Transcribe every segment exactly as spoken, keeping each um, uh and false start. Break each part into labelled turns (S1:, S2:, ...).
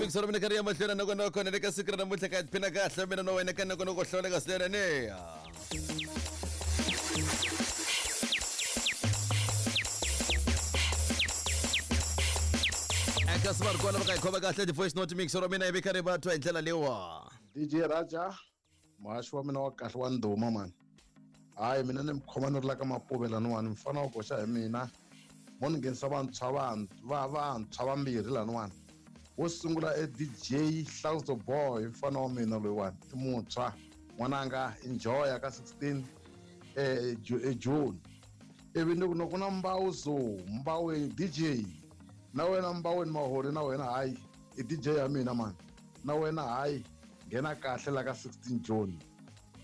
S1: mixer mina karhi ya mahlweni na kona kona le ka siku ra namuntlha ka tiphina kahle mina no wena ka na kona ku hlawuleka swinene ne. Eka swi va ri kona va ka hi khoma kahle ti-voice note mixer mina yi ve karhi va twa hi ndlela leyiwa.
S2: D J Raja, muhaxi wa mina wa kahle wa ndhuma mani. Hayi mina ni mi khoma ni ri la ka Mapuve laniwani, mfana wa koxa hi mina. Mo ni nghenisa vantshwa va vantshwa vambirhi laniwani. Wo sungula e D J Hlauzo Boy, mfana wa mina loyiwani, i muntshwa. N'wananga enjoy ka sixteen eh June. Ivi ni ku ku na Mbawu zo, Mbawu D J. Na wena Mbaweni Mahori na wena hayi, i D J ya mina mani. Na wena hayi, nghena kahle la ka sixteen June.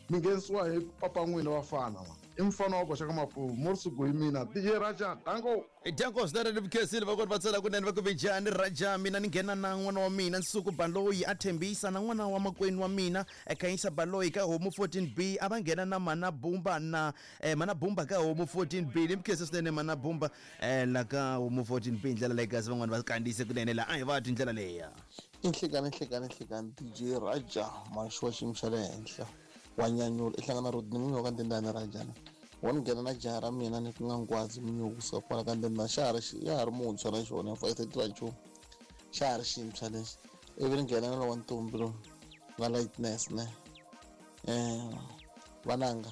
S2: Mi nghenisiwa hi papa n'wina vafana ma. I mfana wa koxa ka Mapuve, Morisuku hi mina D J Raja, danko.
S1: Danko swinene ni vukhensile va kona va tsala kunene va ku njhani Raja, mina ni nghena na n'wana wa mina Nsuku Baloyi a thembisa na n'wana wa makwenu wa mina Khanyisa Baloyi ka Homu fourteen B, a va nghena na Mana Bumba na eh, Mana Bumba ka Homu fourteen B. Ni mukhense swinene Mana Bumba eh, la ka Homu fourteen B ndlela leyi kasi van'wana va kandziyise kunene la a hi va twi ndlela leya.
S3: I nhlekani nhlekani nhlekani D J Raja, muhaxi wa xiyimo xa le henhla wa nyanyula i hlangana Rodney Munyo ka Ndendane Rajana. Wa ni nghena na jaha ra mina ni ku nga Nghwazi Munyo kusuka kwala ka Ndendane, xa ha ri ya ha ri muntshwa na xona ya thirty nchumu, xa ha ri xintshwa lexi. Ivi ni nghena na lowa ntombi lowu nga Lightness ne eh vananga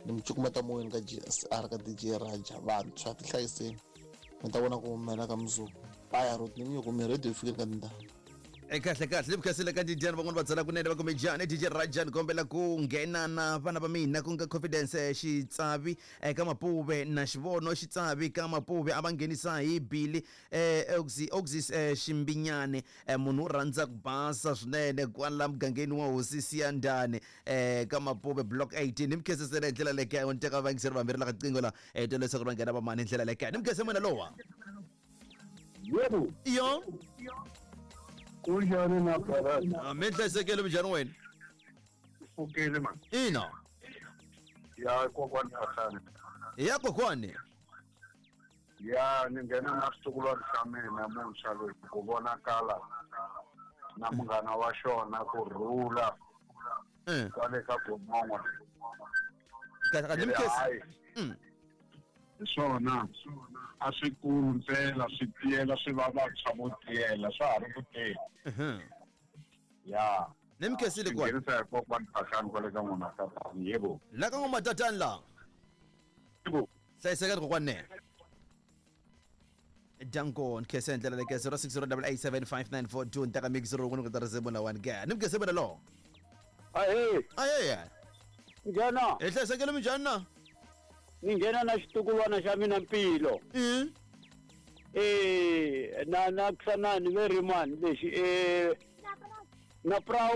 S3: ni mi cukumeta moyeni ka G S R ka D J Raja. Vantshwa tihlayiseni mi ta vona ku humela ka mundzuku. Baya Rodney Munyo kumbe radio yi fikile ka Ndendane.
S1: E kahle kahle ni vukhensile ka D J van'wana va tsala kunene va kume njhani D J Raja, ni kombela ku nghena na vana va mina ku nga Confidence Xitsavi eka Mapuve na Xivono Xitsavi ka Mapuve, a va nghenisa hi Billy eh Oxy Oxys Ximbinyane, munhu u rhandza ku basa swinene kwala mugangeni wa Hosi Siyandane eh ka Mapuve block eighteen. Ni mukhensisele hi ndlela leyi kaya ni teka vayingiseri vambirhi la ka qingo la eh twa leswaku va nghena va mani hi ndlela leyi kaya. Ni mukhense mina lowa.
S4: Yebo.
S1: Iyo.
S4: Kunjani na brother?
S1: Mi hlayisekile minjhani wena?
S4: Pfukile man.
S1: Ina.
S4: Ya kokwani Hahlane.
S1: Ya kokwani.
S4: Ya ni nghena na xitukulwana xa mina muntshwa loyi ku vonakala na munghana wa xona ku rhula kwale ka Gomongo.
S1: Kahle kahle mkhesi. Mm.
S4: Swona a swi kulu ntsena swi tiyela swi va vantshwa vo tiyela swa ha ri ku teni. Ya
S1: ni mkhensile kwani
S4: nghenisa hi kokwani Phahlane kwale ka n'wana tatani. Yebo
S1: la ka n'wana tatani la.
S4: Yebo
S1: hlayisekani kokwani ne. Danko nkhense ndlela leyi zero six zero eight eight seven five nine four two ntaka mix ro ku ta risimu la one ga. Ni mkhense mina lo.
S5: Ahee.
S1: Ahee.
S5: Njhani?
S1: Hi hlayisekile minjhani na?
S5: Ni nghena na xitukulwana xa mina Mpilo.
S1: Mm.
S5: Eh na na kusanani ve ri mani lexi eh na proud